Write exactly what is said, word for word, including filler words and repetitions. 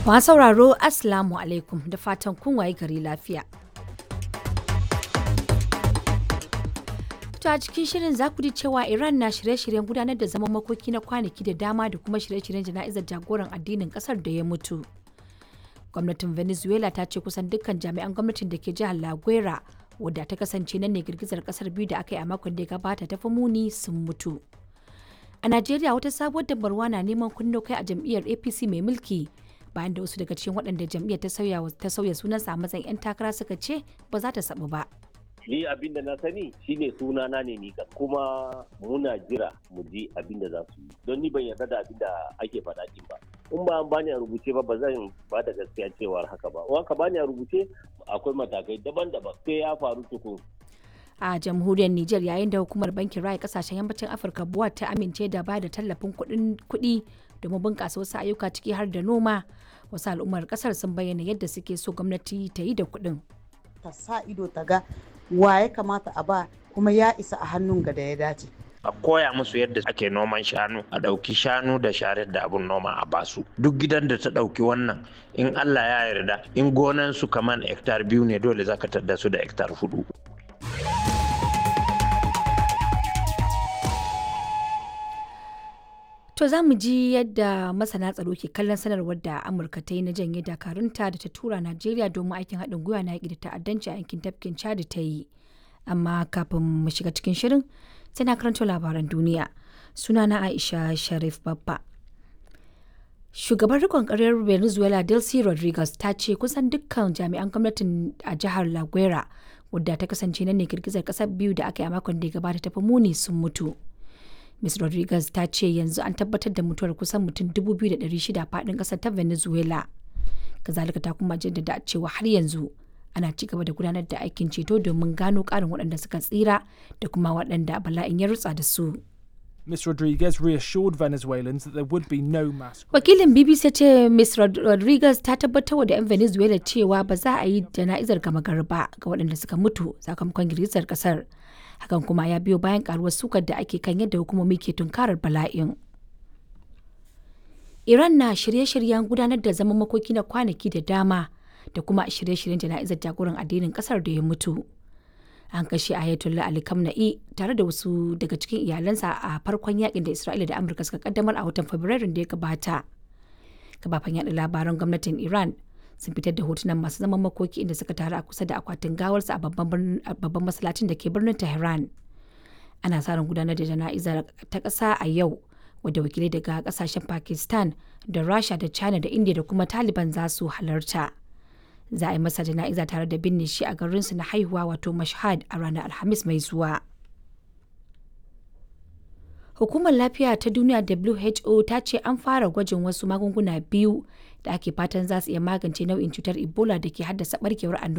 Masu sauraro, Assalamu alaikum, da fatan kun waye gari lafiya. To, a cikin shirin za ku ji cewa Iran na shirye-shiryen gudanar da zaman makoki na kwanaki da dama da kuma shirye-shiryen jana'izar jagoran addinin kasar da ya mutu. Gwamnatin Venezuela ta ce kusan dukkan jami'an gwamnatin da ke jihar La Guera, wadda ta kasance nan ne girgizar kasar biyu da aka yi a makon da ya gabata ta fi muni, sun mutu. A Najeriya, wata sabuwar dabarwa na neman kunno kai a jam'iyyar A P C mai mulki, bayan da wasu daga cikin waɗanda jam'iyyar ta sauya ta sauya sunansa a matsayin 'yan takara suka ce ba za ta sabu ba. Ni abin da na sani shine suna na ne ni, kuma muna jira mu ji abin da za su yi, don ni ban yarda da abin da ake faɗa din ba. In ba an bani a rubuce ba, ba zan ba da gaskiya cewar haka ba. In ka bani a rubuce, akwai matakai daban-daban sai ya faru tukun. A jamhuriyar Nijar, yayin da hukumar bankin raya kasashen yammacin Afirka BUA ta amince da ba da tallafin kuɗi domin bunƙasa wasu ayyuka, ciki har da noma, wasu al'ummar ƙasar sun bayyana yadda suke so gwamnati ta yi da kuɗin. Ta sa ido ta ga wa ya kamata a ba, kuma ya isa a hannun ga da ya dace. A koya musu yadda ake noman shanu, a ɗauki shanu da sharar da abun noma a basu. Duk gidan da ta ɗauki wannan, in Allah ya yarda, in gonan su kaman hektar biyu ne, dole zaka tadda su da hektar hudu. To, za mu ji yadda masana tsaro ke kallon sanarwar da Amurka ta yi na janye dakarunta da ta tura Najeriya domin aikin haɗin gwiwa na yaƙi da ta'addanci a yankin tafkin Chad ta yi. Amma kafin mu shiga cikin shirin, sai na karanto labaran duniya. Sunana Aisha Sharif Babba. Shugaban rikon ƙaryar Venezuela Delcy Rodriguez ta ce kusan dukkan jami'an gwamnatin a jihar La Guera, wadda ta kasance nan ne girgizar ƙasar biyu da aka yi a makon da ya gabata ta fi muni, sun mutu. Miz Rodriguez ta ce yanzu an tabbatar da mutuwar kusan mutum dubu biyu da ɗari shida faɗin ƙasar ta Venezuela. Kazalika ta kuma jaddada cewa har yanzu ana ci gaba da gudanar da aikin ceto domin gano ƙarin waɗanda suka tsira da kuma waɗanda bala'in ya rutsa da su. Miz Rodriguez reassured Venezuelans that there would be no mass. Wakilin B B C ce Miz Rodriguez ta tabbatar da 'yan Venezuela cewa ba za a yi jana'izar gama gari ba ga waɗanda suka mutu sakamakon girgizar ƙasar. Hakan kuma ya biyo bayan karuwar sukar da ake kan yadda hukumomi ke tunkarar bala'in. Iran na shirye-shiryen gudanar da zaman makoki na kwanaki da dama da kuma shirye-shiryen jana'izar jagoran addinin kasar da ya mutu. An kashe Ayatollah Ali Khamenei tare da wasu daga cikin iyalansa a farkon yakin da Isra'ila da Amurka suka kaddamar a watan Fabrairun da ya gabata. Kafafen yaɗa labaran gwamnatin Iran sun fitar da hotunan masu zaman makoki inda suka taru a kusa da akwatin gawarsa a babban masallacin da ke birnin Tehran. Ana sa ran gudanar da jana'izar ta ƙasa a yau, wadda wakilai daga kasashen Pakistan da Rasha da China da India da kuma Taliban za su halarta. Za a yi masa jana'iza tare da binne shi a garinsu na haihuwa, wato Mashhad, a ranar Alhamis mai zuwa. Hukumar Lafiya ta Duniya W H O ta ce an fara gwajin wasu magunguna biyu da ake fatan za su iya magance nau'in cutar Ebola da ke haddasa barkewar annoba.